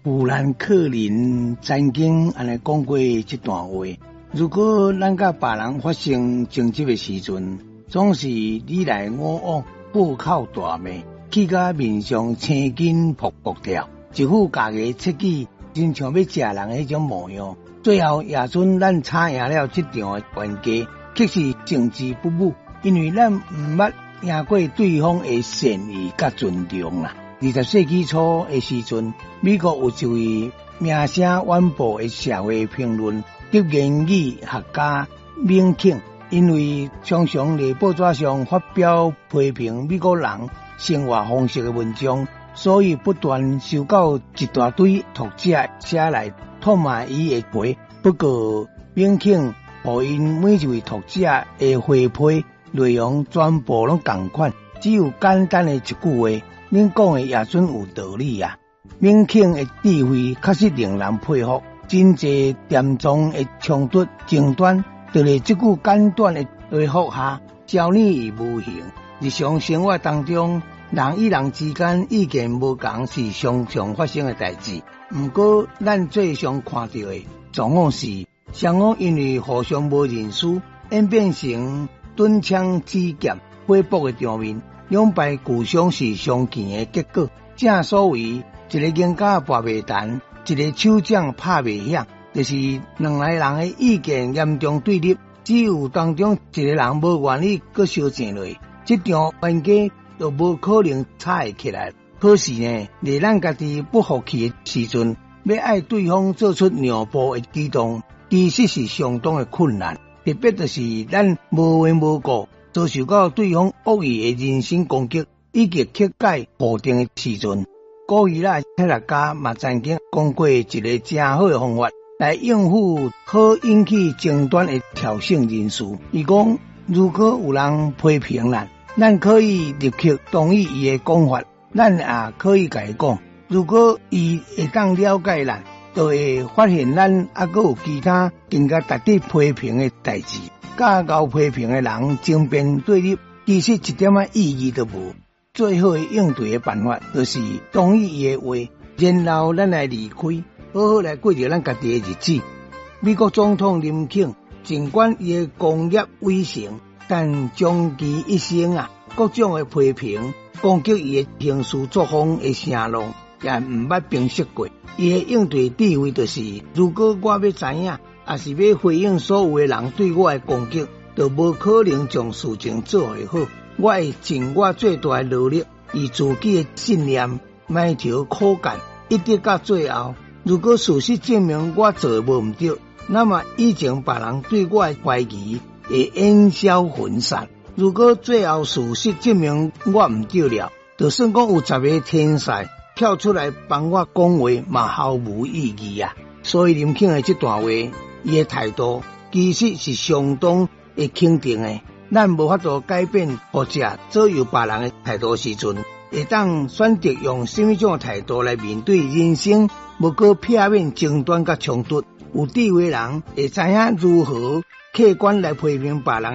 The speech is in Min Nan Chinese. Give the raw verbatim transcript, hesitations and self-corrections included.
富蘭克林曾經按呢講過這段話：如果咱佮別人發生爭執的時陣，總是你來我往，破口大罵，氣甲面上青筋噗噗跳，一副咬牙切齒，親像欲食人彼種模樣。最後也準咱吵贏了這場的冤家，卻是勝之不武，因為咱毋捌贏過對方的善意佮尊重啦。二十世紀初的時陣，美國有一位名聲遠播的社會評論及言語學家銘肯，因為常常佇報紙上發表批評美國人生活方式的文章，所以不斷收到一大堆讀者寫來唾罵伊的批。不過，銘肯予𪜶每一位讀者的回批內容全部攏仝款，只有簡單的一句話。恁講的也準有道理啊！銘肯的智慧確實令人佩服，真濟嚴重的衝突爭端，就佇這句簡短的回覆下，消弭於無形。日常生活當中，人與人之間意見無仝是常常發生的代誌。毋過，咱最常看著的狀況是，雙方因為互相無認輸，演變成唇槍舌劍、火爆的場面。兩敗俱傷是常見的結果。正所謂，一个贏家跋袂彈，一个手掌拍袂響，就是兩个人的意見嚴重對立，只有當中一个人無願意閣相爭落，這場冤家就無可能吵會起來。可是呢，佇咱家己不服氣的時陣，欲愛對方做出讓步的舉動，其實是相當的困難。特別就是咱無緣無故遭受到對方惡意的人身攻擊以及曲解否定的時陣，古希臘哲學家嘛曾經講過一个誠好的方法來應付好引起爭端的挑釁人士。伊講，如果有人批評咱，咱可以立刻同意伊的講法，咱也可以共伊講。如果伊會當了解咱，就會發現咱猶閣有其他更加值得批評的代誌。佮𠢕批評的人爭辯對立，其實一點仔意義都無。最好的應對的辦法，就是同意伊的話，然後咱來離開，好好來過著咱家己的日子。美國總統林肯，儘管伊的功業偉成，但終其一生啊，各種的批評、攻擊伊的行事作風的聲浪，也毋捌平息過。伊的應對智慧就是：如果我欲知影，抑是欲回應所有的人對我的攻擊，就無可能將事情做會好。我會盡我最大的努力，以自己的信念埋頭苦幹，一直到最後。如果事實證明我做的無毋對，那麼以前別人對我的懷疑會煙消雲散。如果最後事實證明我毋對了，就算講有十个天才跳出來幫我講話，嘛毫無意義啊！所以林肯的這段話，伊的態度其實是相當的肯定的。咱無法度改變或者左右別人的態度時陣，會當選擇用啥物種態度來面對人生，無閣避免爭端佮衝突。有智慧人會知影如何客觀來批評別人。